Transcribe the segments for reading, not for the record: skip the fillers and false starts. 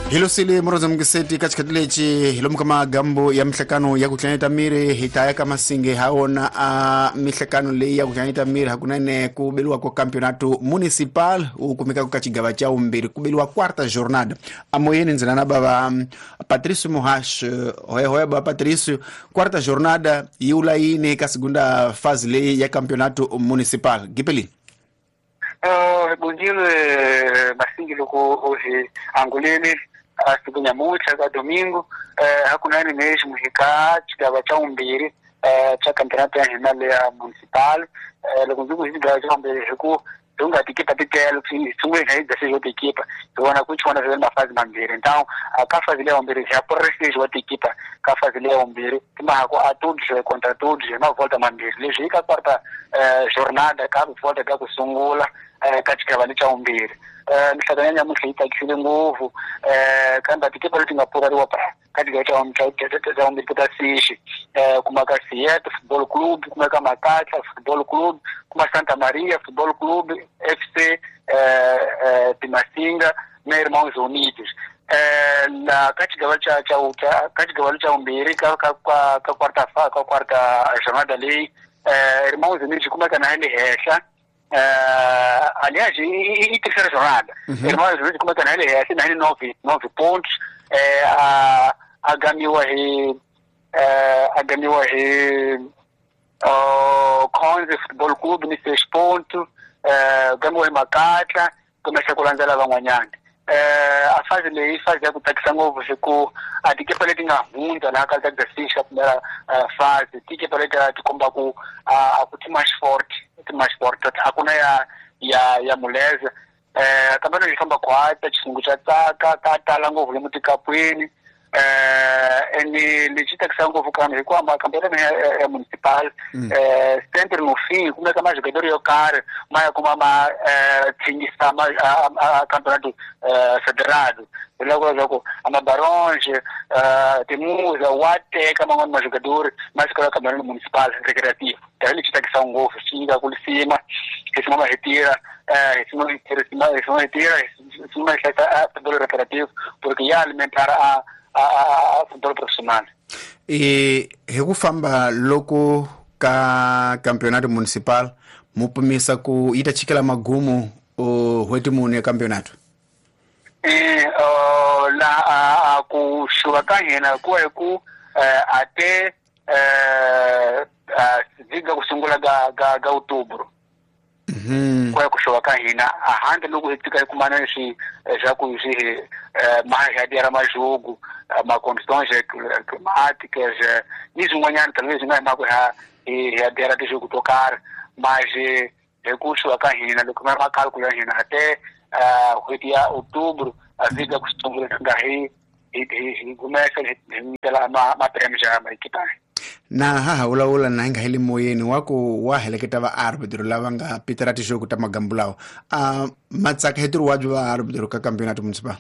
Hi losile murhandza mungiseti ka xikhati lexi hi lomu ka magambo ya mihlekano ya ku hlanyeta miri hi ta ya ka masinge ha wona a mihlekano leyi ya ku hlanyeta miri hakunene ku beliwa ko campeonato municipal wu kumekaka ka xigava xa vumbirhi ku beliwa quarta jornada amoyeni ndzi na na bava Patricio Muhash. Hoya hoya bava Patricio, quarta jornada yi wula yini ka segunda fase leyi ya campeonato municipal gipeli? Bongile Masingi, loko hi anguleni siku nyamuntlha ka domingo, hakunene mesmo hi ka xigava xa vumbirhi xa campeonato ya hina leya municipal. Loko ndzi ku hi xigava xa vumbirhi, hi ku hi nga tikipa ti tele, hi sungule hi dya yo tikipa hi vona ku chona swi mafazi mambirhi. Então ka fazi leya vumbirhi hi ya prestige wa tikipa ka fazi leya vumbirhi timhaka a todos contra todos hi mavolta mambirhi. Leswi hi ka quarta jornada, ka volta ka ku sungula ka xigava lexa vumbirhi. Mihlakano ya nyamuntlha yi tsakisile ngopfu, kambe tikipa leti nga pfurariwa ka xigava xa vumbirhi ta sixi, kuma ka Siete Football Club, kuma ka Makatla Football Club, kuma Santa Maria Football Club, FC Timasinga na Irmãos Unidos. La ka xigava xa xa ka xigava xa vumbirhi ka quarta ka quarta jornada leyi, Irmãos Unidos kumeka na le henhla. Aliás, e terceira jornada, Irmãos Unidos kumeka na le henhla na 9 pontos, a gamiwa hi a gamiwa hi Conze Football Club ni 6 pontos, gamiwa hi Makatla, kumbe ku landzela van'wanyana. A fazi leyi fazi ya ku tsakisa ngopfu hi ku a tikipa leti nga hundza laha ka ta six ka primera fazi, tikipa leti ti komba ku a ku ti mais forte, ti mais forte, a ku na ya muleza. Kambe no yi famba khwata xilungu xa tsaka ka tala ngopfu lomu tikapweni. Ene lexi tsakisaka ngopfu kambe hikuva makambelo ya municipal sempre no fim kumeka majogador yo karhi ma ya kuma ma thingisa ma campeonato federado. Hi loko leswaku amabaronge timuza wa teka man'wani majogador ma sukela campeonato municipal recreativo. Tani lexi tsakisaka ngopfu xi nyika ku lisima hi sima ma hi tirha, hi sima hi tirha, hi sima hi tirha, hi sima hi hlayisa football recreativo porque ya alimentar a football profissional. E hi ku famba loko ka campeonato municipal, mu pimisa ku yi ta chikela magumu n'hweti muni ya campeonato? La ku xuva ka hina ku hi ku ate vhiki ku sungula ka outubro ku ya ku xuva ka hina a handle loko hi tika hi kumana swi swa ku swi ma majogo ma condições climáticas ni swin'wanyana tanihi leswi nga hi mhaka hi ya diara tijogo to karhi. Mas hi ku xuva ka hina, loko ma macálculo ya hina, ate n'hweti ya outubro a vhiki ya ku sungula nga hi humesa hi nyikela ma-prêmio ya maekipa. Na ha ha vulavula na hi nga heli moyeni wa ku wa heleketa va árbitro lava nga pitela tixoku ta magambu lawa a matsaka hi tiri wabyo va árbitro ka campeonato municipal?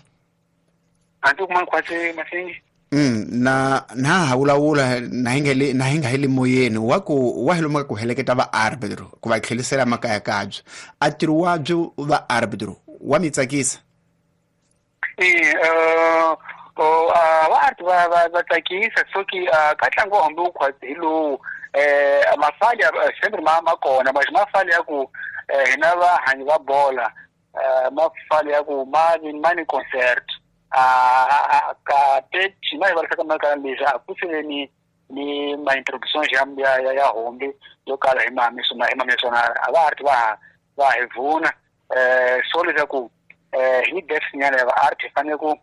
A ndzi kuma khwatsi, Masingi. Na ha vulavula na hi nga heli moyeni wa ku wa hi lomu ka ku heleketa va árbitro ku va tlhelisela makaya kabyo, a ntirho wabyo va árbitro wa mi tsakisa? Va art va tsakisa soki ka ntlangu wa hambi wu khwatsi hi lowu mafali sempre ma kona, mas mafali ya ku hina vahanyi va bola, mafali ya ku ma ni concert ka te xima hi varisaka maka leswi a ku se ni ma introduction ya hombi yo kala hi mami swona hi mami swona a va art va hi vuna. So leswaku hi depth nyana ya va art hi fanele ku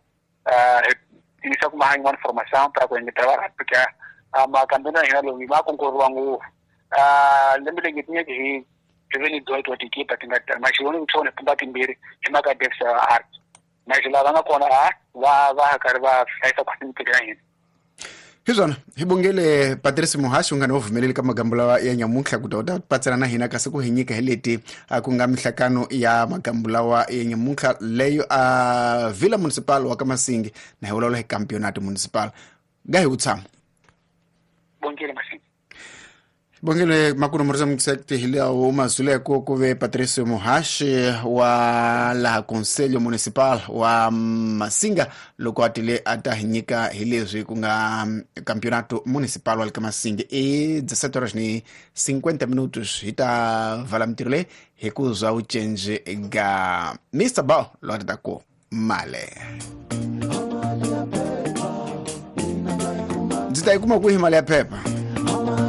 hi tiyisa ku ma yin'wana formation para ku engetela va art ka makambelo ya hina lomu ma konkoriwa ngopfu. Lembe leri nge hi ve ni doit wa tikipa ti nga ma xivoni ku tlhona pumba timbirhi hi mhaka depth ya art, mas lava nga kona a va karhi va hlayisa khwatsi mintirho ya hina. Hi swona, hi bongele Patrice Muhaxi u nga ni wo pfumeleli ka magambu lawa ya nyamuntlha ku ta u ta patsela na hina kasi ku hi nyika hi leti a ku nga mihlakano ya magambu lawa ya nyamuntlha leyo a Villa Municipal wa ka Masingi na hi vulavula hi campeonato municipal. Ga hi ku tshama. Bongile, Masingi. Bongile makulu murisa muksekti hi lawo mazuleko ku ve Patricio Muhashi wa laha Conselho Municipal wa Masinga loko a tile a ta hi nyika hi leswi ku nga Campeonato Municipal wa le ka Masinga. I 17 horas ni 50 minutos. Hi ta vala mintirho leyi hi ku zwa vucenji ga Mr Bao loyi a ti ta ku male. Ndzi ta yi kuma kwihi mali ya phepha?